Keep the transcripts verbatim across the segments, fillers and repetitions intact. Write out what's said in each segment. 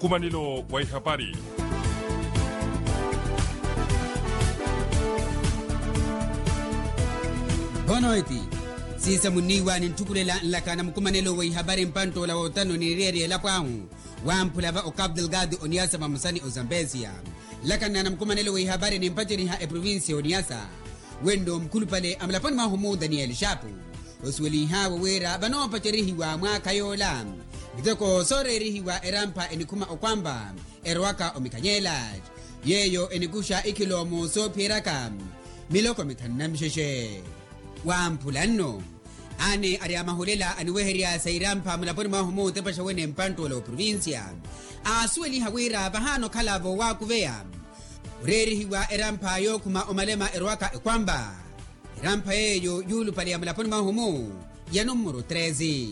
Nkumanelo wa ihapari. Bonoiti, siisa munniiwa ninthukulela nlaka na mukumanelo wa ihapari mpanttoola wootano ni eriyari elapo ahu, wamphula va okapu delgado oniyasa vamosa ni ozambesia. Nlaka nna na mukumanelo wa ihapari nimpaceriha eprovincia oniyasa, wenno mukhulupale amulaponi mwahu mu daniel shapu, osuwelinhawe wira vanoopacerihiwa mwaakha yoola miteko sooreerihiwa erampha enikhuma okwampa erowaka omikhanyeela, yeeyo enikuxa ikhilomo soophiyeraka miloko mithanu na mixexe. Wamphula nno, ani ari amahulela aniweherya sa irampha mulaponi mwahu mu otepaxa wene mpanttoola oprovincia, aasuweliha wira vahaana okhala voowakuveya oreerihiwa erampha yookhuma omalema erowaka ekwampa. Erampha yeeyo yuulupale ya mulaponi mwahu mu ya nummuru treze.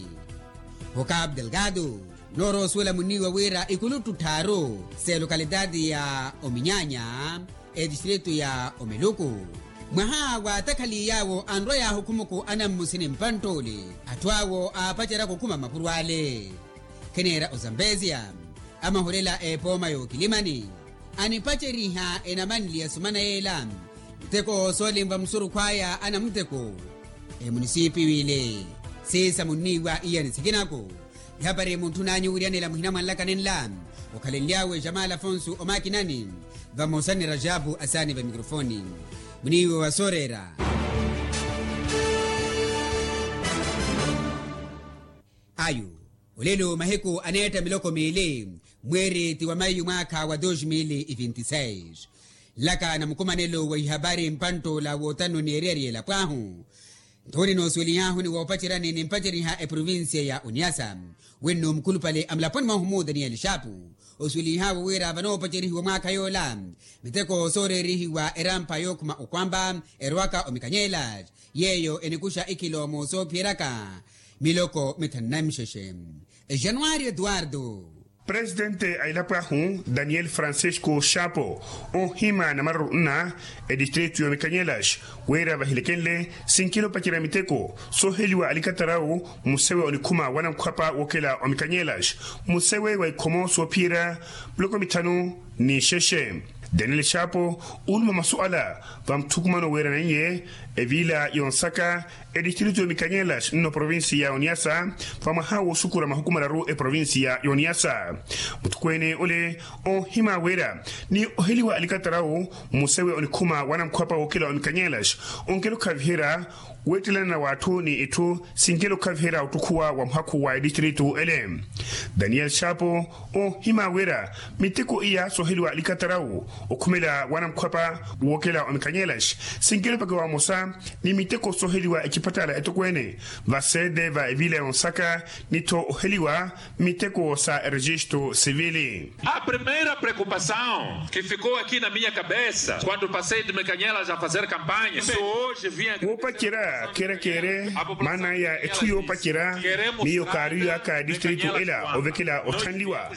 Okapu delgado, noorowa osuwela munniiwa wira ikuluttu tthaaru s'elokalitaati ya ominyaanya, etistritu ya omiluku, mwaha waatakhaliy'awo anrwa yaahukhumuku anammusi ni mpanttoli atthu awo aapacerya khukhuma mapuro ale. Khineera ozambesia, amahulela epooma y'okilimani anipaceriha enamanli ya sumana yeela miteko soolinva musurukhu aya anamuteko. Emunisipiwile siisa munniiwa iyani sikinaku. Ihapari muntthun'anyu wiryanela muhina mwa nlakani nla, okhalenly'awe jamal afonso omakinani, vamosa ni rajabu asaani va mikrofoni. Muniiwe wa sooreera. Ayu, olelo mahiku aneetta miloko miili, mweeri ti wa mayu mwaakha wa dos mil e vinti seis. Nlaka na mukumanelo wa ihapari mpanttoola wootano ni eriyari elapo ahu, nthuni noosuwelih'ahu ni woopaceryani nimpaceryiha eprovincia ya oniasa, wenno mukhulupale amulaponi mwahu mu daniel shapu, osuwelih'awe wira vanoopacerihiwa mwaakha yoola miteko sooreerihiwa erampha yookhuma okwampa erowaka omikhanyeela, yeeyo enikuxa ikhilomo soophiyeraka miloko mithanu na mixexe. Januari eduardo. Presitente a elapo ahu daniel francisco shapo, ohima na maruru nna etistritu y'omikanyelax, wira vahilekenle sinkela opacerya miteko sooheliwa alikatarawu, musewe onikhuma wa namkhwapa wookela omikanyelax, musewe wa ikhomo soophiyerya miloko mithanu ni xexe. Daniel shapo, unuma masu ala va muthukumano weeraneiye eviila yonsaka etistritu y'omikanyelax nno provincia ya oniasa, va mwaha wooxukura mahuku mararu eprovincia ya oniasa. Muthukweene ole, ohima wira ni oheliwa alikatarawu, musewe onikhuma wa namkhwapa wookela omikanyelax, onkela okhaviherya weettelana na w'atthu ni itthu sinkela okhaviherya ottukhuwa wa muhakhu wa etistritu ele. Daniel shapo, ohima wira miteko iya sooheliwa alikatarawu okhumela wa namkhwapa wookela omikanyelax, sinkela opakiwa vamosa ni miteko sooheliwa ecipattala etokweene, va sede va eviila yonsaka ni-tho oheliwa miteko sa erejistu sivili. A primeira preocupação que ficou aqui na minha cabeça quando passei de mecanhelas a fazer campanha, se hoje vinha. Woopacerya keerekeere maana ya etthu yoopacerya, miyo kaariyo aka a etistritu ela ovekela otthanliwa.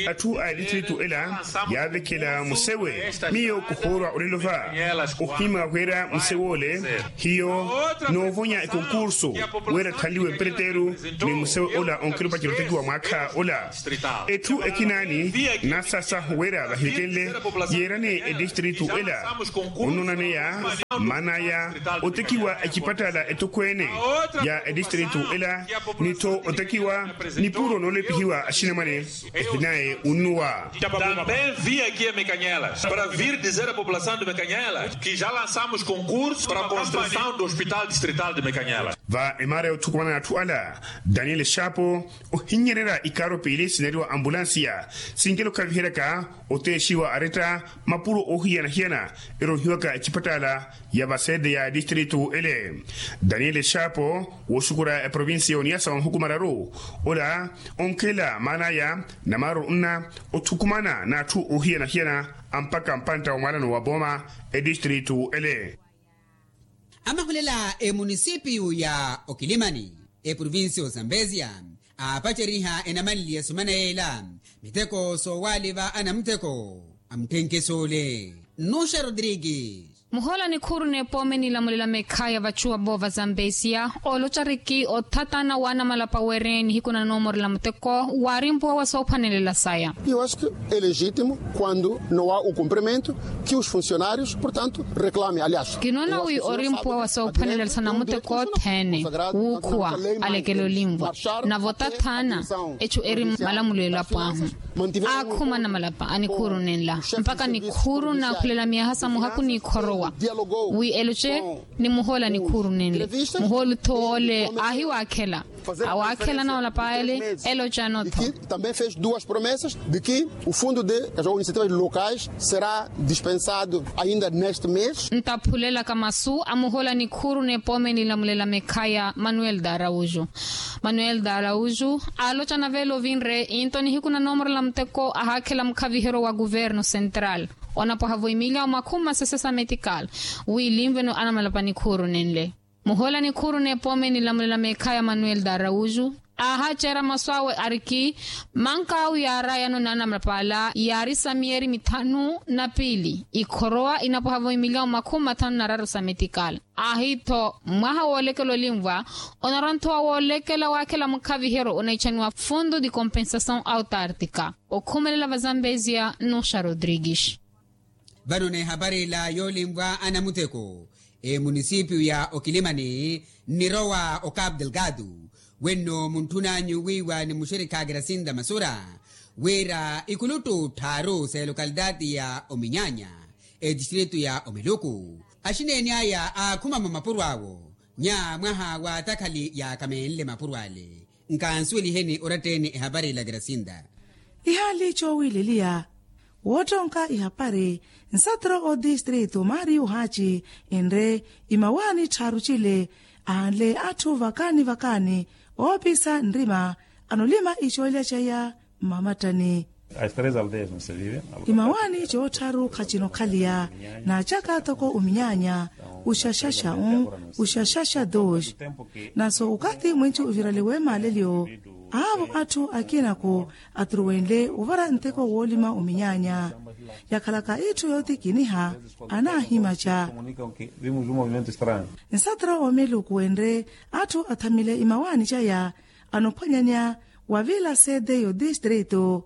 Atthu a etistritu ela yaavekela musewe, miyo kuhoorwa olelo va ohima wira musewe ole hiyo noovonya ekonkursu wira atthanliwe mpereteru, ni musewe ola onkela opacerya otekiwa mwaakha ola. Etthu ekinaani nasasahu wira vahilekenle yeerane etistritu ela onnonaneya maana ya otekiwa ecipattala etokweene ya etistritu ela, ni-tho otekiwa nipuro noolepihiwa axinamwane. Ehinaye unnuwa. Também vim aqui a mecanhelas para vir dizer a população de mecanhelas que já lançamos concurso para a construção do hospital distrital de mecanhelas. Va emaara yoothukumana atthu ala, daniel shapo ohinnyererya ikaaro piili sineriwa ambulansiya, sinkela okhaviheryaka oteexiwa aretta mapuro oohiyana-hiyana erohiwaka ecipattala ya vasede ya etistritu ele. Daniel shapo wooxukura eprovinsiya ya oniasa wa mahuku mararu, ola onkhela maanaya na maaruru nna othukumana n'atthu oohiyana-hiyana ampakha mpantta wa mwaalano wa booma etistritu ele. Amahulela emunisipiyu ya okilimani eprovinsiya ya ozambesia aapaceriha enamanli ya sumana yeela miteko soowaaliva anamuteko a mutthenkesuule. Nnuxa rodrigues. Muhoola nikhuuru n'epoome nilamulela mekhaya vachuwa voova za mbesia, ooloca riki othatana w'anamalapa weereye nihiku na noomorela muteko waarimpuwa wa soophanelela saya. Yu aski, elegitimo quando no há o cumprimento, que os funcionários portanto reclame aliás. Kinoona wi orimpuwa wa soophanelela sa namuteko othene wuukhuwa alekele olinvwa, navo tathaana echu eri malamulo elapo ahu. Aakhuma namalapa a nikhuuru nenla mpaka nikhuuru naakhulela myaha sa muhaku n'ikhorowa wi eloce ni muhoola nikhuuru nenle. Muhooli-tho woole aahiwaakhela, awaakhela namalapa ale eloca anotho. Também fez duas promessas de que o fundo de iniciativas locais será dispensado ainda neste mês. Ntaphulelaka masu a muhoola nikhuuru n'epoome nilamulela mekhaya manuel d'araújo. Manuel d'araújo aaloca naveela ovinre into nihiku na noomorela muteko ahaakhela mukhaviheryo wa kuvernu central onapwaha vo imiliya omakhumi masese sa metikal wiilinveno anamalapa nikhuuru nenle. Muhoola nikhuuru n'epoome nilamulela mekhaya manuel d'araújo aahaaceera masu awe ariki, manka awe yaarayano n'anamalapa ala yaari sa miyeeri mithanu na piili ikhorowa inapwaha vo imiliya omakhumi mathanu na raru sa metikal. Aahi-tho mwaha woolekela olinvwa onarwa-tho wa woolekela waakhela mukhaviheryo onaitthaniwa fundo de compensação autártica. Okhumelela va zambezia nuxa rodrigues. Vano n'ehapari ila yoolinvwa anamutheko emunisipiyu ya okilimani nnirowa o capu delgado. Wenno muntthun'anyu wiiwa ni muxirikha kirasinta masura wira ikuluttu tthaaru s'elokalitaati ya ominyaanya etistritu ya omiluku axineeni aya aakhuma mwa mapuro awo nya mwaha wa takhali yaakamenle mapuro ale. Nkansuweliheni oratta-ene ehapari ila kirasinta. Ihaali coowileliya woottonka ihapari nsatro otistritu mario haaci enre imawaani tthaaru cile aanle atthu vakaani vakaani oopisa nrima anolima icoolya caya mmamattani. Imawaani coottharu khacinookhaliya naacaka toko ominyaanya uxaxaxa un uxaxaxa dos. Naso okathi mwinci ovirale wemaalelyo aavo atthu akinaku aturuwenle ovara nteko woolima ominyaanya yakhalaka itthu yootikiniha anaahimaca. Nsatra omeluku enre atthu athamile imawaani caya anophwanyanya wa vila sede y'otistritu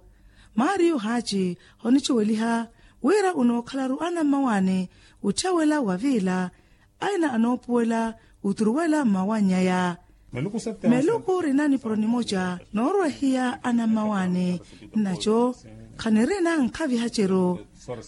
mario haaci onicuweliha wira onookhalaru anammawaani otthawela wa vila aina anoopuwela oturuwela mmawannyaya. Meluku rina nipuro nimoca noorwehiya anammawaani nnaco khanirina nkhavihaceru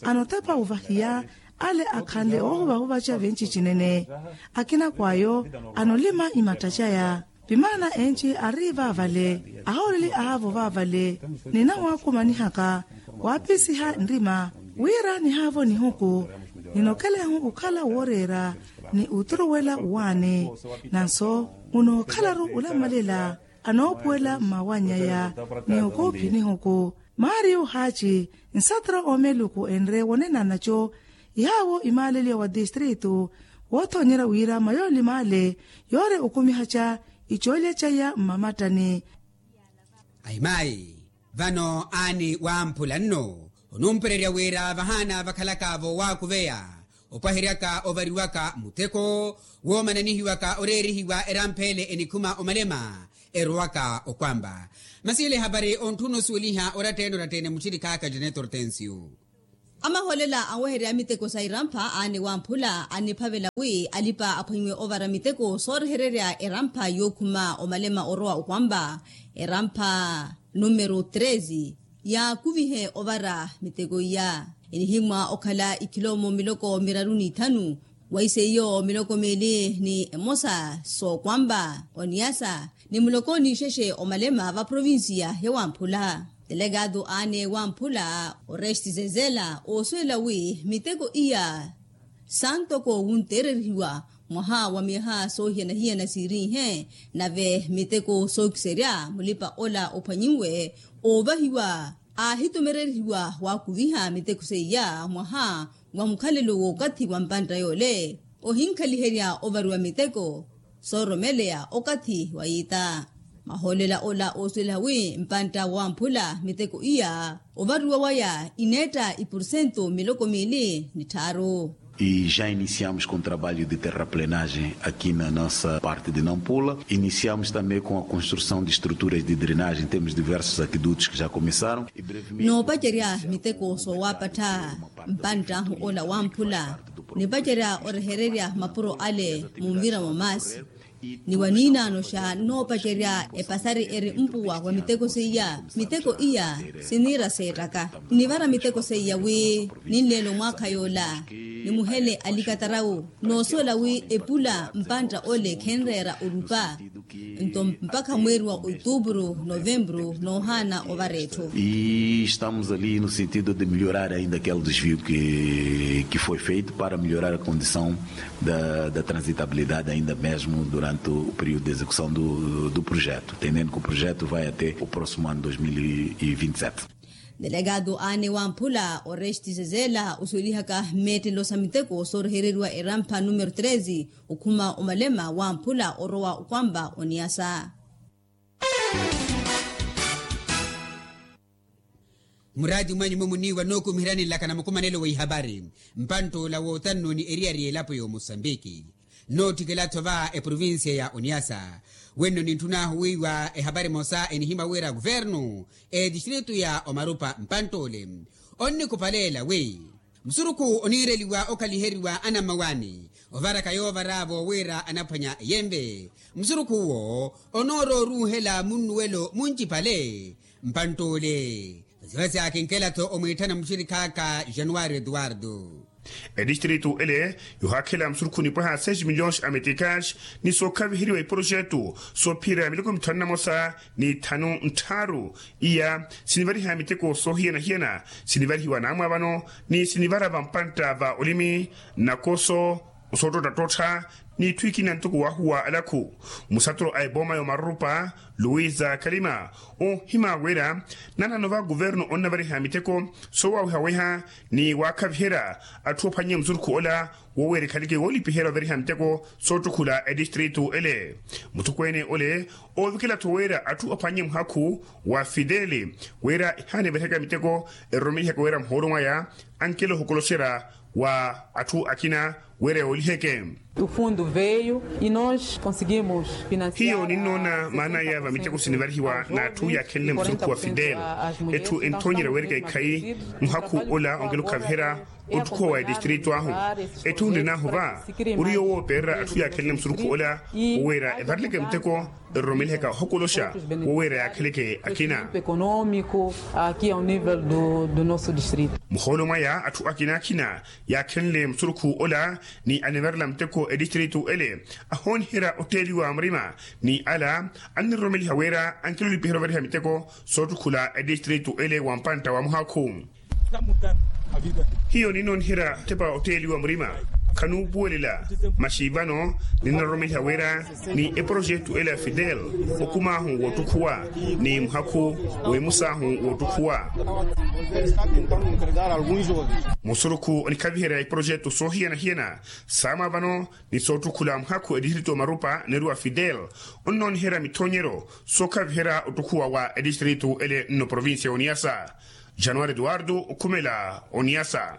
anotepa ovahiya ale akhanle oohuvahuvaca vinci cinene akinakw'ayo anolima imatta caya. Vimaana enci ari vaavale ahooleli aavo vaavale ninawaakumanihaka waapisiha nrima wira nihaavo nihuku ninokelenhu okhala wooreera ni oturuwela owaani. Nanso munookhalaru olamalela anoopuwela mmawannyaya ni okuuphi nihuku mario haaci nsatra omeluku enre wonena naco. Ihaawo imaaleliya wa tistritu woothonyerya wira mayooli maale yoore okumihaca icoolya caya mmamattani. Ahimayi vano aani wamphula nno onumpererya wira vahaana vakhalaka voowakuveya opwaheryaka ovariwaka muteko woomananihiwaka oreerihiwa erampha ele enikhuma omalema erowaka okwamba. Masi ele ehapari ontthuna osuweliha oratta-ene oratta-ene muxirikhaaka janet hortensio. Amahoolela anweherya miteko sa irampha aani wamphula aniphavela wi alipa aphwaiwe ovara miteko soorehererya erampha yookhuma omalema orowa okwamba erampha numero treze yaakuvihe ovara miteko iya enihimwa okhala ikhilomo miloko miraru n'ithanu waiseiyo miloko miili ni emosa sookwamba oniyasa ni muloko n'ixexe omalema va provincia ya wamphula. Telekatu aane wamphula oresti zezela oosuwela wi miteko iya santoko wunteererihiwa mwaha wa myaha soohiyana-hiyana siirinhe nave miteko sookiserya mulipa ola ophwanyinwe oovahiwa aahitumererihiwa waakuviha miteko seiya mwaha wa mukhalelo w'okathi wa mpantta yoole ohinkhaliherya ovariwa miteko sooromeleya okathi wa yiita. Mahoolela ola oosuwela wi mpantta wamphula miteko iya ovariwa waya ineetta ipursentu miloko miili ni tthaaru. E já iniciamos com trabalho de terraplenagem aqui na nossa parte de nampula. Iniciamos também com a construção de estruturas de drenagem temos diversos aquedutos que já começaram. Noopacerya miteko soowapattha mpanttahu ola wamphula nipacerya orehererya mapuro ale munvira mwa maasi. Ni waniinaano xa noopacerya epasari eri mpuwa wa miteko seiya miteko iya siniira seettaka. Nivara miteko seiya wi ninleela omwaakha yoola nimuhele alikatarawu noosuwela wi epula mpantta ole khenreera orupa. Nto mpakha mweeri wa otuupuru novempuru noohaana ovara etthu. E estamos ali no sentido de melhorar ainda aquele desvio que foi feito para melhorar a condição da transitabilidade ainda mesmo durante o período de execução do projeto, entendendo que o projeto vai até o próximo ano dois mil e vinte e sete. Delegado ane wamphula oreste zezela osuwelihaka meettelo sa miteko soorehereriwa erampha numero treze okhuma omalema wamphula orowa okwampa oniyasa. Muraati mwanyu mwe muniiwa nookumiherani nlaka na mukumanelo wa ihapari. Mpantt'ola wootanno ni eriyari y'elapo y'omosambiki nootthikela-tho va eprovincia ya oniasa. Wenno nintthun'ahu wiiwa ehapari emosa enihimya wira kuvernu etistritu ya omarupa mpantt'ole onnikupaleela wi musurukhu oniireliwa okhaliheriwa anammawaani ovaraka yoovar'avo wira anaphwanya eyenve. Musurukhu uwo onooroorunhela munnuwelo muncipale. Mpantt'ole vasi-vasi akinkela-tho omwiitthana muxirikhaaka januwari etuwartu. Etistritu ele yohaakhela musurukhu nipwaha seis milhões a meticas ni sookhaviheriwa iprojetu soophiyerya miloko mithanu na mosa ni thanu nttharu. Iya sinivariha miteko soohiyana-hiyana sinivarihiwa naamwa vano ni sinivara vampantta va olimi, nakoso, osoottottattotta n'itthu ikina ntoko wahuwa alakhu. Musaturo a epooma y'omarurupa luwiza kalima onhima wira nanano va kuvernu onnavariha miteko soowawehaweha ni waakhaviherya atthu ophwannye musurukhu ola woweera ekhaleke woolipiherya ovariha miteko soottukhula etistritu ele. Muthukwene ole oovikela-tho wira atthu aphwannye muhakhu wa fidele wira ehaana evarihyaka miteko eroromelihaka wira muhoolo mwaya ankela ohokoloxerya wa atthu akina wira yooliheke. Hiyo ninnoona maan'aya va miteko sinivarihiwa n'atthu yaakhenle musurukhu wa fidele. Etthu enthoonyerya weerika ekhayi muhakhu ola onkela okhaviherya ottukhuwa wa etistritu ahu. Etthu nrin'ahu va ori yoowo oopererya atthu yaakhenle musurukhu ola woweera evareleke miteko eroromelihaka ohokoloxa woweera yaakheleke akina. Muhoolo mwaya atthu akina-akina yaakhenle musurukhu ola ni anivarela muteko etistritu ele ahooniherya otteeliwa murima ni ala anniroromeliha wira ankilolipiherya ovariha miteko soottukhula etistritu ele wa mpantta wa muhakhu. Hiyo ninnooniherya otepa otteeliwa murima khanuupuwelela masi vano ninnaroromeliha wira ni eprojetu ele ya fidel okumaahu woottukhuwa ni muhakhu w'emusaahu woottukhuwa. Musurukhu onikhaviherya eprojetu soohiyana-hiyana saamwa vano ni soottukhula muhakhu etistritu omarupa neeru wa fidel onnooniherya mithoonyeryo sookhaviherya ottukhuwa wa etistritu ele nno provincia y'oniasa. Januwari eduwardu okhumela oniasa.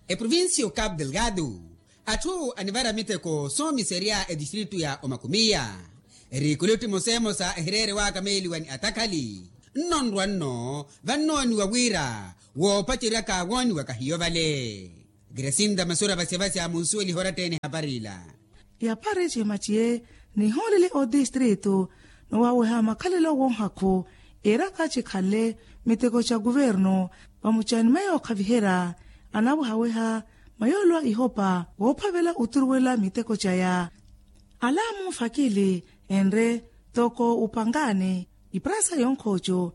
Eprovincia o cabo delgado atthu anivara miteko soomiserya etistritu ya omakumiya. Erikulutti mosemosa ehireere waakameeliwa ni atakhali nno nrwa nno vannooniwa wira woopaceryaka wooniwaka hiyo vale. Grasinda masura vasya-vasya munsuweliha oratta-ene ehapari ila. Ehapari cimaciye nihoolele otistritu nowaaweha makhalelo woohakhu iiraka cikhanle miteko ca kuvernu vamucani mayo ookhaviherya anaawehaweha mayoolwa ihopa woophavela oturuwela miteko caya. Ala munfakili enre toko upangaani iprasa yonkhooco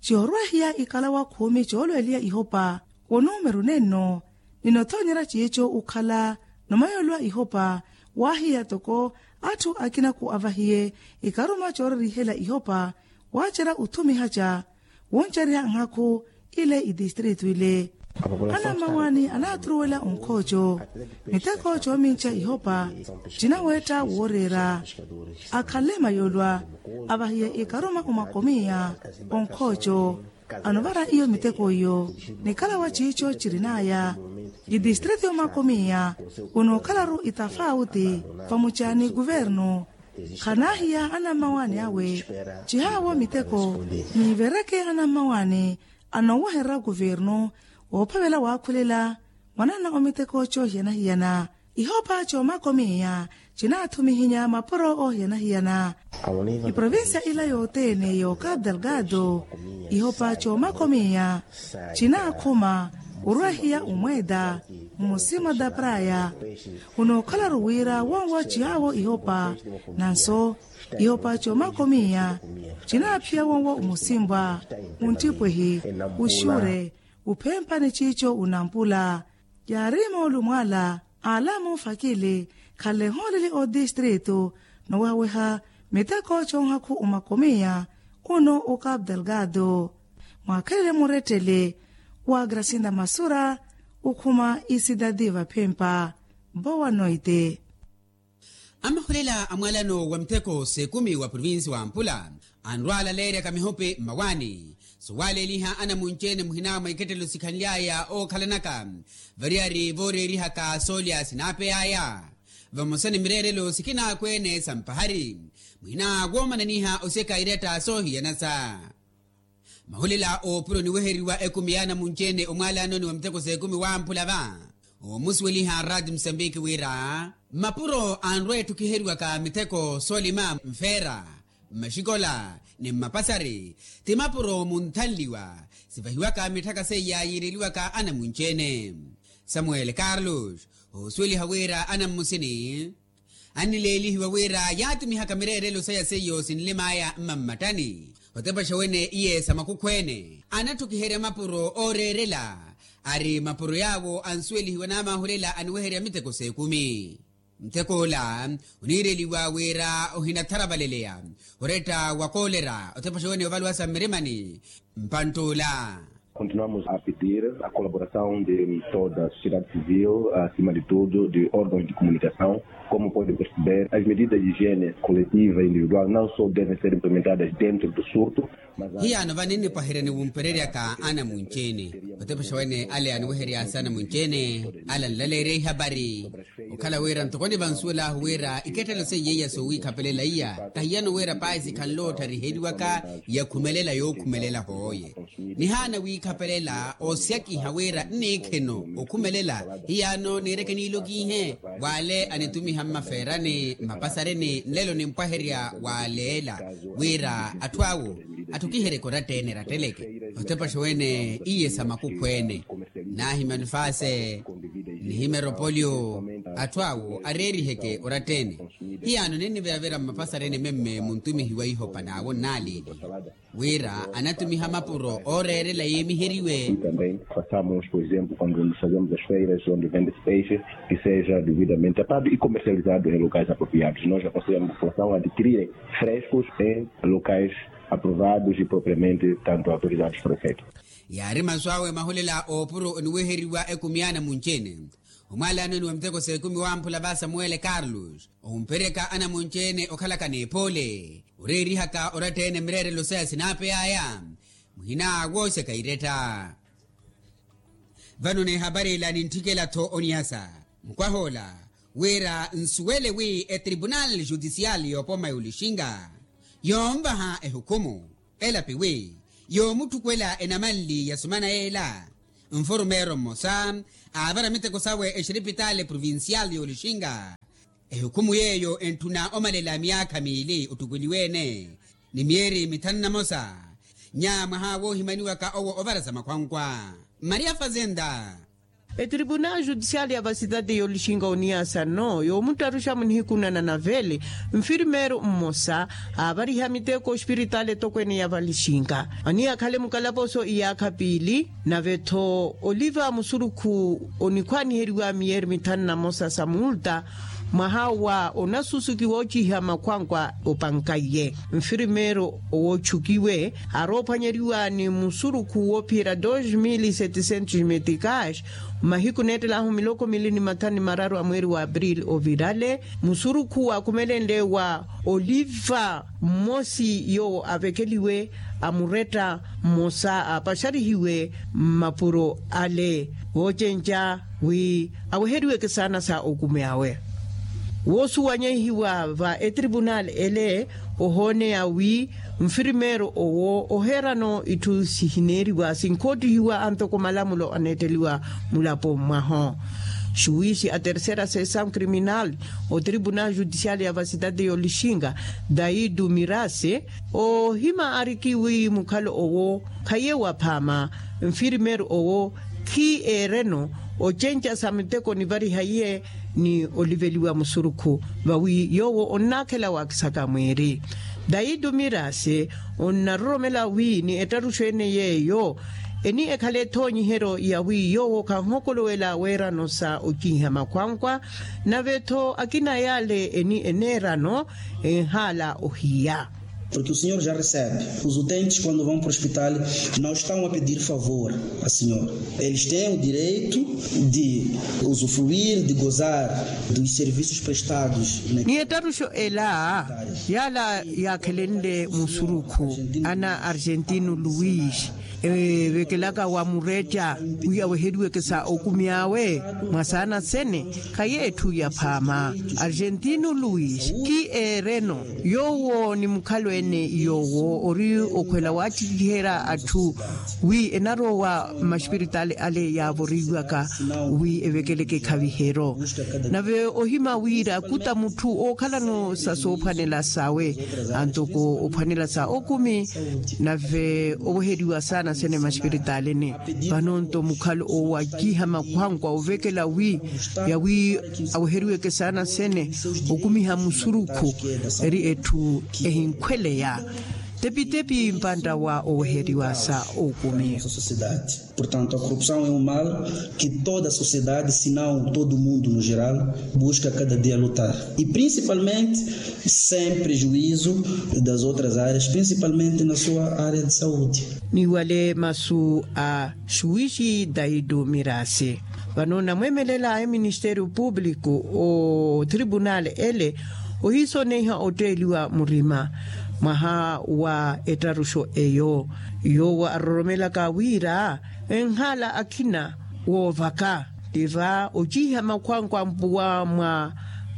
ciyorwehiya ikalawa khumi coolweliya ihopa wonumeru nenno. Ninothonyera ciico ukhala nomayolwa ihopa waahiya toko atthu akinaku avahiye ikaruma coorerihela ihopa waacerya uthumihaca wuncerya nhakhu ile itistritu ile. Anammawaani anaathuruwela onkhooco miteko coominca ihopa cinaweetta wooreera akhanle mayolwa avahiye ikaruma omakomiya onkhooco anovara iyo miteko iyo. Nikhala wa ciico cirin'aya Itistriti y'omakomiya unookhala-ru itafawuti vamucaani kuvernu. Khanaahiya anammawaani awe cihaawo miteko niivereke anammawaani anoowehererya kuvernu woophavela waakhulela mwanana omiteko coohiyana-hiyana. Ihopa c'omakomiya cinaathumihinya mapuro oohiyana-hiyana. Iprovincia ila yothene y'okapu delgado ihopa c'omakomiya cinaakhuma orwahiya omweeta mmusima da praya. Unookhala-ru wira wonwo cihaawo ihopa nanso ihopa c'omakomiya cinaaphiya wonwo omusimbwa munttipwehi uxure uphempa ni ciico unampula. Yaari moolumo ala aala muufakili khale hooleli otistritu nowehaweha miteko c'onhakhu omakomiya uno okapu delgado. Mwaakhelele murettele wa grasinda masura okhuma isidadi vaphempa. Boa noite. Amahulela a mwalano wa mitheko s'ekumi wa provinsi wa mpula anrwaalaleeryaka mihopi mmawaani. Suwaaleeliha anamunci-ene muhina mwa ikettelo sikhanly'aya ookhalanaka variyari vooreerihaka soolya sinaapey'aya vamosa ni mireerelo sikinaakweene sa mpahari muhina woomananiha osyeka iretta soohiyanasa. Mahulela oopuro niweheriwa ekumi y'anamunci-ene omwalanoni wa miteko s'ekumi wamphula va omusuweliha rati musambiki wira mapuro anrwa ettukiheriwaka miteko soolima mfeera mmaxikola ni mmapasari ti mapuro munthanliwa sivahiwaka mitthaka seiya yiireliwaka anamunci-ene. Samuel carlos osuweliha wira anammusini annileelihiwa wira yaatumihaka mireerelo saya seiyo sinlim'aya mmammattani otepaxa wene iye sa makukhwene anattukiherya mapuro ooreerela ari mapuro yaawo ansuwelihiwa n'amahulela aniweherya miteko s'ekumi. Ntek'ola oniireliwa wira ohinatharavaleleya oretta wa koolera otepaxa wene ovaluwasa mmirimani mpantt'ola. Continuamos a pedir a colaboração de toda a sociedade civil acima de tudo de órgãos de comunicação como pode perceber as medidas de higiene coletiva e individual não só devem ser implementadas dentro do surto. Hiyaano vano ennipwaherya ni wumpereryaka anamunci-ene otepaxa wene ale aniweheryasa anamunci-ene ale anlaleerya ihapari okhala wira ntoko nivansuwel'ahu wira ikettelo seiya iya soowiikhapelela iya tahiyano wira pahi sikhanle ottariheriwaka yakhumelela yookhumelela hooye. Nihaana wiikhapelela oosyakiha wira nniikhino okhumelela hiyaano niireke niilokiihe w'ale anitumiha mmafeerani mmapasareni nlelo nimpwaherya w'aleela wira atthu awo atthukiheryeke oratta-ene eratteleke otepaxa wene iye sa makukhwene naahimya nifase nihimya eropoliyo atthu awo areeriheke oratta-ene. Hiyaano ninniveyavera mmapasareni memme muntumihi wa ihopa n'awo nnaaliili wira anatumiha mapuro ooreerela yiimiheriwe. Também façamos por exemplo quando nos fazemos as feiras onde vende-se peixe que seja devidamente tapado e comercializado em locais apropriados nós aconselhamos a população a adquirirem frescos em locais aprovados e propriamente tanto autorizados por efeito. Yaari masu awe mahulela oopuro oniweheriwa ekumi y'anamunci-ene omwalanoni wa miteko s'ekumi wamphula va samuwele carlos omperyaka anamunci-ene okhalaka n'epoole oreerihaka oratta-ene mireerelo saya sinaapey'aya muhina wooxeka iretta. Vano n'ehapari ila nintthikela-tho oniyasa mukwah'ola wira nsuwele wi etribunal judicial y'opoma y'olixinga yoonvaha ehukhumu elapi wi yoomutthukwela enamanli ya sumana yeela nfurmeero mmosa aavara miteko sawe exiripitaale provincial y'olixinga. Ehukhumu yeeyo entthuna omalela myaakha miili ottukweliwe-ene ni myeeri mithanu na mosa nya mwaha woohimaniwaka owo ovara sa makhwankwa maria fazenda. Etribunal judicial ya vasitati y'olixinga oniyasa no yoomuttaruxa munihiku na nanaveli nfirmeero mmosa aavariha miteko ospiritaali etokweene ya valixinga aniyakhale mukalaposo iyaakha piili nave-tho oliva musurukhu onikhwaniheriwa miyeeri mithanu na mosa sa multa mwaha wa onasusuki woociha makhwankwa opankaiye nfirmeero owootxukiwe aroophwanyeriwa ni musurukhu woophiyerya dos mil seticentos meticas mmahiku neettel'ahu miloko mili ni mathanu ni mararu a mweeri wa april ovirale musurukhu waakhumelenle wa oliva mmosi yoowo avekeliwe amuretta mmosa aapaxarihiwe mmapuro ale voocenca wi aweheriweke saana sa okumi awe. Woosuwanyehiwa va etripunali ele ohooneya wi nfirimeero owo oheerano itthu sihineeriwa sinkoottihiwa antoko malamulo aneetteliwa mulapo mwaho. Xuwisi a terceira sesau kriminali otripunali jutisiali ya vasitati y'olixinga daitu mirasi ohima ariki wi mukhalo owo khaye waphaama nfirimeero owo khi eereno ocenca sa miteko nivariha iye ni oliveliwa musurukhu vawi yoowo onnaakhela waakisaka mwiiri. Daitu mirasi onnaroromela wi ni ettaruxo ene yeeyo eni ekhale ethoonyiheryo yawi yoowo khanhokolowela weerano sa okiiha makhwankwa nave-tho akina yaale eni eneerano enhaala ohiya. Porque o senhor já recebe. Os utentes, quando vão para o hospital, não estão a pedir favor a senhor. Eles têm o direito de usufruir, de gozar dos serviços prestados. Ni ettaruxo ela yaala yaakhelenle musurukhu ana argentino luis evekelaka wa muretta wi aweheriweke sa okumi awe mwa saana sene khaye etthu yaphaama. Argentino luis khi eereno yoowo ni mukhalo ene yoowo ori okhwela waattikiherya atthu wi enarowa mmaxipiritali ale yaavoriwaka wi evekeleke ekhaviheryo. Nave ohima wira kuta mutthu ookhalano sa soophwanela sawe antoko ophwanela sa okumi nave oweheriwa saana sene mmaxipiritalini. Vano-nto mukhalo owo akiiha makhwankwa ovekela wi yawi aweheriweke saana sene okumiha musurukhu eri etthu ehinkhweleya tepitepi mpantta wa oweheriwa sa okumi. Portanto a corrupção é um mal que toda a sociedade se não todo mundo no geral busca cada dia lutar e principalmente sem prejuízo das outras áreas principalmente na sua área de saúde. Ni wale masu a xuwixi daitu mirasi vano namwemelela eministeriyo publiku otripunali ele ohiisoneiha otteeliwa murima mwaha wa ettaruxo eyo yoowo aroromelaka wira enhaala akhina woovaka tiva ociiha makhwankwa mpuwa mwa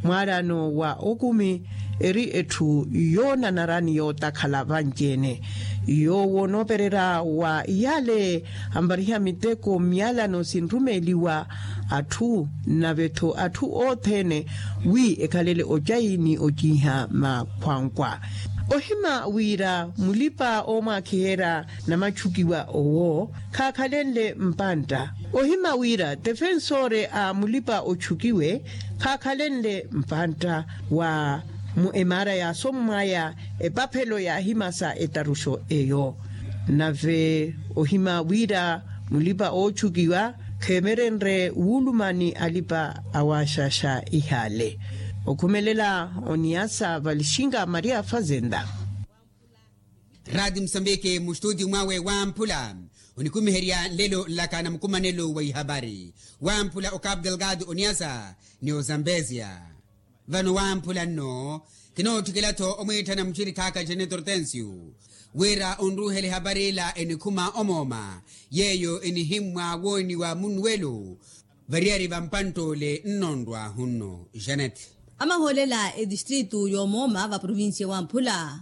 mwaalano wa okumi eri etthu yoonanara ni yootakhala vanci-ene. Yoowo onoopererya wa iyaale ampariha miteko mmiyalano sinrumeeliwa atthu nave-tho atthu othene wi ekhalele ocayi ni ociiha makhwankwa. Ohima wira mulipa oomwaakhiherya namachukiwa owo khaakhalenle mpantta. Ohima wira tefensore a mulipa ochukiwe khaakhalenle mpantta wa mu emaara yaasommwaya epaphelo yaahimasa etaruxo eyo. Nave ohima wira mulipa oochukiwa kheemerenre wuuluma ni alipa awaaxaxa ihaale. Okhumelela oniyasa valixinga maria fazenda. Raati musambiki mustutiyu mwawe wamphula onikumiherya nlelo nlaka na mukumanelo wa ihapari wamphula okapu delgado oniyasa ni ozambezia. Vano wamphula nno kinootthikela-tho omwiitthana muxirikhaaka janet hortensio wira onruuhela ehapari ila enikhuma omooma yeeyo enihimmwa wooniwa munnuwelo variyari va mpantt'ole nnonrwa hunno. Janet. Amahoolela etistritu y'omooma va provincia wamphula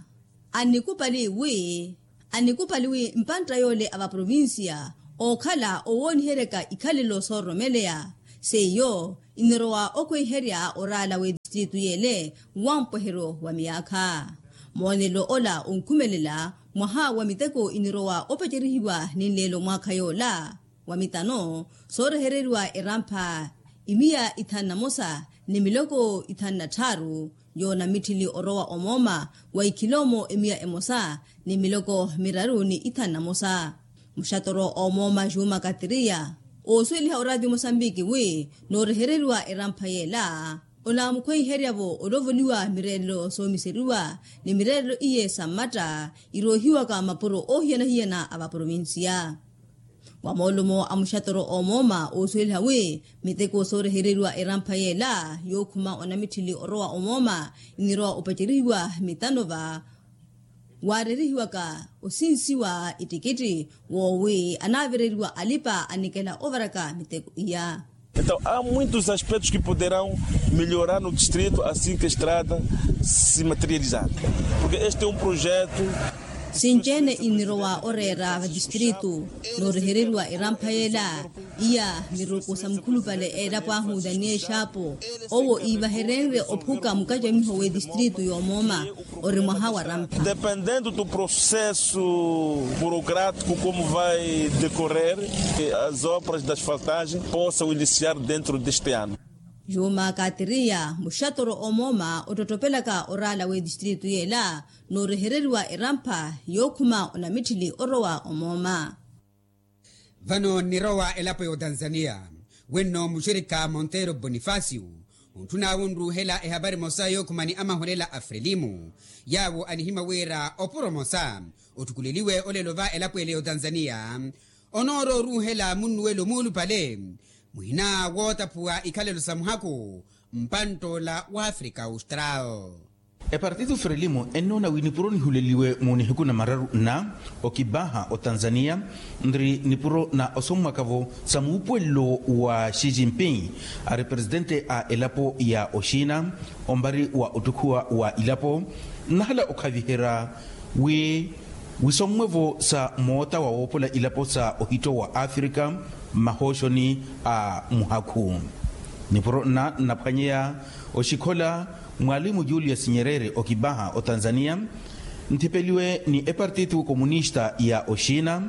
annikupali wi annikupali wi mpantta yoole a va provincia ookhala owooniheryaka ikhalelo soororomeleya seiyo inirowa okhweiherya oraala w'etistritu yeele wa mpweheryo wa miyaakha. Moonelo ola onkhumelela mwaha wa miteko inirowa opecerihiwa ni nleelo mwaakha yoola wa mitano soorehereriwa erampha imiya ithanu na mosa ni miloko ithanu na tthaaru yoonamitthili orowa omooma wa ikhiloomo emiya emosa ni miloko miraru ni ithanu na mosa. Muxatoro omooma juma katiriya oosuweliha oraati mosambiki wi noorehereriwa erampha yeela onaamukhweiherya-vo olovoliwa mireerelo soomiseriwa ni mireerelo iye sa mmatta iroohiwaka mapuro oohiyana-hiyana a va provincia. Wa moolumo a muxatoro omooma oosuweliha wi miteko soorehereriwa erampha yeela yookhuma onamitthili orowa omooma inirowa opacerihiwa mitano va waareerihiwaka osinsiwa ittikitthi woowi anaavereriwa alipa anikela ovaraka miteko iya. Então há muitos aspectos que poderão melhorar no distrito assim que a estrada se materializar, porque este é um projeto. Sinci-ene inirowa oreera vatistritu, noorehereriwa erampha yeela. Iya miruku sa mukhulupale eelapo ahu daniel xaapo, owo iivaherenrye ophuka mukacamiho w'etistritu y'omooma. Ori mwaha wa rampha. Dependendo do processo burocrático como vai decorrer, as obras da asfaltagem possam iniciar dentro deste ano. Yuuma kaatiriya muxatoro omooma ottottopelaka oraala w'etistritu yeela, noorehereriwa erampha yookhuma onamitthili orowa omooma. Vano nnirowa elapo y'otanzaniya, wenno muxirikha monteiro bonifacio, ontthun'awe onruuhela ehapari emosa yookhumani amaholela a frelimu, yaawo anihimya wira opuro emosa otthukuleliwe olelo va elapo ele y'otanzaniya, onoorowa oruuhela munnuwelo muulupale muhina wootaphuwa ikhalelo sa muhakhu mpantt'ola w'afrika austral. Epartito frelimo ennoona wi nipuro nihuleliwe mu nihiku na mararu nna okibaha otanzaniya, nri nipuro na osommwaka-vo sa muupuwelelo wa xi jinping, ari presitente a elapo ya oxina ombari wa ottukhuwa wa ilapo. Nnahala okhaviherya wi wisommwe-vo sa moota wa woopola ilapo sa ohitto wa afrika mmahooxoni a muhakhu. Nipuro nna nnaphwanyeya oxikhola mwalimu julius nyerere okibaha otanzaniya, nthipeliwe ni epartito komunista ya oxina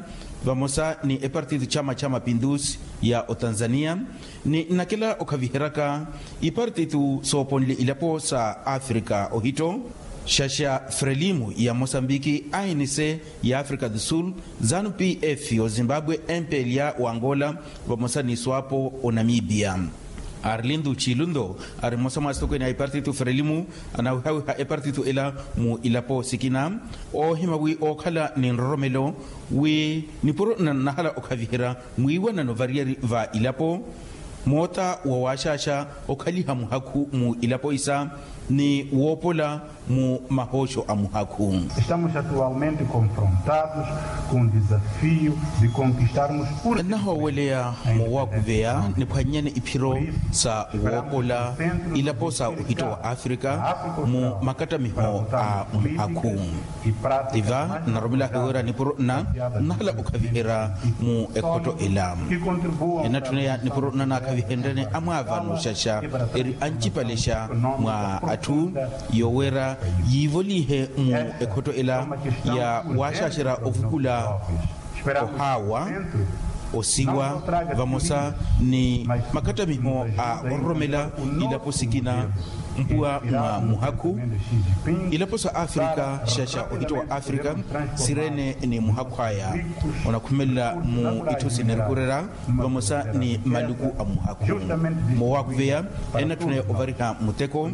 vamosa ni epartito chama cha mapindusi ya otanzaniya, ni nnakela okhaviheryaka ipartito sooponle ilapo sa afrika ohitto, xaxa frelimo ya mosambiki, anc ya afrika do sul, zanu pf ozimbabwe, mpla wa angola vamosa ni swapo onamibia. Arlindo chilundo ari mmosa mwa asitokwene a ipartito frelimo anawihawiha epartito ela mu ilapo sikina, oohima wi ookhala ni nroromelo wi nipuro nnahala okhaviherya mwiiwanano variyari va ilapo, moota wa waaxaaxa okhaliha muhakhu mu ilapo isa ni woopola mu mahooxo a muhakhu. Estamos atualmente confrontados com o desafio de conquistarmos por nnahooweleya moowakuveya niphwannyane iphiro sa woopola ilapo sa ohitto wa afrika mu makattamiho a muhakhu. Tiva nnaromelahe wira nipuro nna nnahala okhaviherya mu ekhotto ela. Enattuneya nipuro nna naakhavihenryene amwaavano xaxa eri ancipalexa mwa atthu yooweera yiivolihe mu ekhotto ela ya waaxaaxerya ovukula ohaawa, osiwa vamosa ni makattamiho a ororomela ilapo sikina mpuwa mwa muhakhu. Ilapo sa afrika xaxa ohitto wa afrika sireene ni muhakhu aya onakhumelela mu itthu sinerikureera vamosa ni maluku a muhakhu. Moowakuveya enatthuna ovariha muteko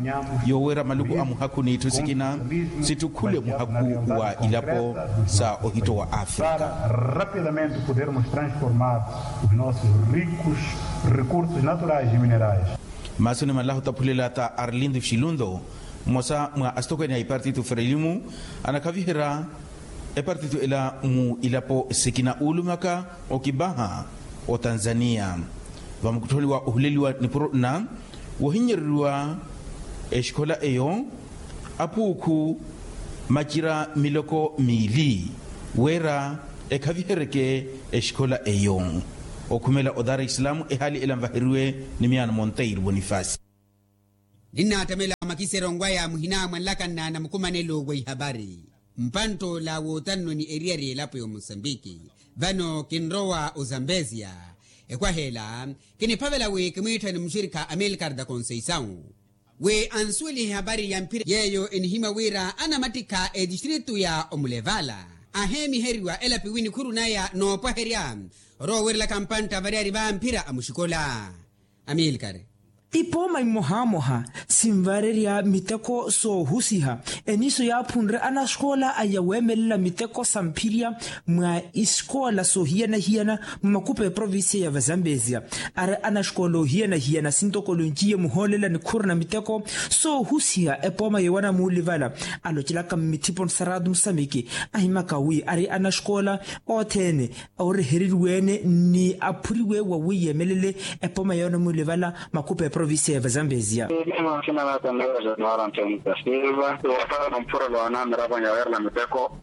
yooweera maluku a muhakhu n'itthu sikina sittukhule muhakhu wa ilapo sa ohitto wa afrika. Para rapidamente podermos transformar os nossos ricos recursos naturais e minerais. Maasoni malaha otaphulela ta arlindo xilundo mmosa mwa asitokwene a ipartito frelimo anakhaviherya epartito ela mu ilapo sikina uulumaka okibaha otanzaniya. Vamukutthoni wa ohuleliwa nipuro nna wohinnyereriwa exikhola eyo apuukhu macira miloko miili wira ekhaviheryeke exikhola eyo. Okhumela o dar es salaam ehaali ela nvaheriwe ni miyaano monteiro bonifasi. Ninnaattamela makiserongo aya muhina mwanlakanna na mukumanelo wa ihapari mpantt'ola wootannoni eriyari elapo ya omosambiki. Vano kinrowa ozambezia ekwaha ela kiniphavela wi kimwiitthani muxirikha amilcar da conceição wi ansuwelihe ehapari ya mphira yeeyo enihimya wira anamattikha etistritu ya omulevala aheemiheriwa elapi wi nikhuru naya noopwaherya oroowerelaka mpantta variyari va mphira a muxikola. Amilcar. Ipooma imohamoha sinvarerya miteko soohusiha. Eniiso yaaphunre anaxikoola aya weemelela miteko sa mphirya mwa isikoola soohiyana-hiyana mwa makupa eprovincia ya vazambezia. Ari anaxikoola oohiyana-hiyana sintoko olonjiye muhoolela nikhuru na miteko soohusiha epooma yowana muulivala. Alocelaka mmithipo ni saratu musamiki ahimaka wi ari anaxikoola othene ooreheriwe-ene ni aphuriwe wawi yeemelele epooma yoona muulivala makupa eprovincia ya vazambezia. Mimwansina natandawa januara ntenta silva wapala na mphurelo anamiravo nyawerela miteko.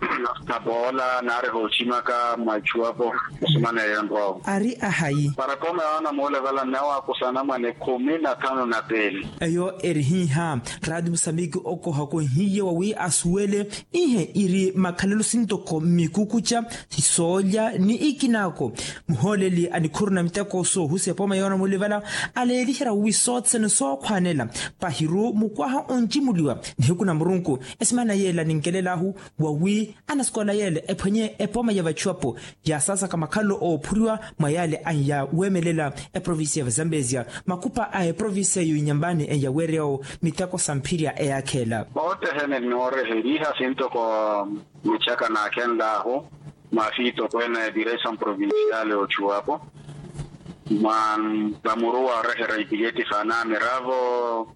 Apoola naari hoochimaka mwa ichuwapo. Osumana eyo nrovo ari ahayi para epooma yoona muulivala nnawakusana mwa nikhumi na thanu na pili. Eyo eri hiiha. Raati musamiki okohakohiye wawi asuwele ihe iri makhalelo sintoko mmikukucha soolya ni ikinaako. Muhooleli a nikhuru na miteko soohusiha epooma yoona muulivala aleeliherya wi sothene sookhwanela pahiru mukwaha onjimuliwa nihiku na murunku. Esimana yeela ninkelelaahu wawi anasikoola yeela ephwenye epooma ya vachuwapo yaasaasaka makhalelo oophuriwa mwa yaale anya weemelela eprovincia ya vazambezia. Makupa a eprovincia eyo inyambani enyaweeryawo miteko sa mphirya eyaakheela. Ootehene nnooreheriha sintoko michaka naakhenlaahu mwa fiitokweene ya direção provincial ochuwapo mwa vamuruwa oreherya ipileti sa anamiravo.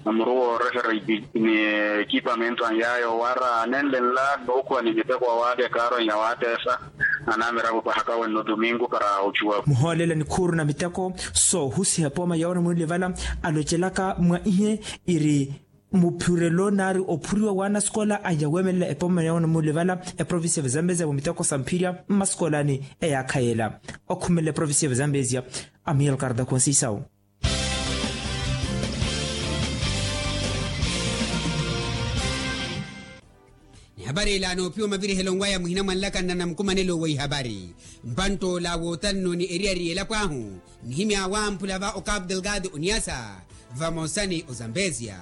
Vamuruwa oreherya ekipamento anyaya owara anenle nla nookhuwa ni miteko awaali ekaaro enya waateesa anamiravo pahaka wenno tumingu para ochuwapo. Muhoolela nikhuru na miteko soohusiha epooma yoona muulivala alocelaka mwa ihe iri muphurelo naari ophuriwa wa anasikoola aya weemelela epooma yoona muulivala eprovincia ya vazambezia mwa miteko sa mphirya mmasikoolani eyaakha yeela. Okhumelela eprovincia ya vazambezia amiel karda khonsisau. Nihapari ila noophiwa mavirihelo nwaya muhina mwanlakanna na mukumanelo wa ihapari mpanttoola wootanno ni eriyari y'elapo ahu. Nihimya wamphula va okapu delgado oniasa vamosa ni ozambezia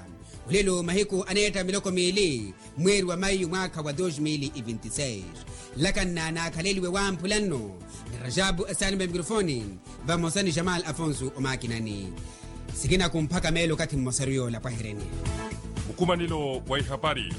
olelo mahiku aneetta miloko miili mweeri wa mayu mwaakha wa dos mil e vinti seis. Nlakanna naakhaleliwe wamphula nno ni rajabu esaani mwa mikrofoni vamosa ni jamal afonso omakinani. Sikina kumphaka meelo okathi mmosaru yoola pwahereni. Mukumanelo wa ihapari.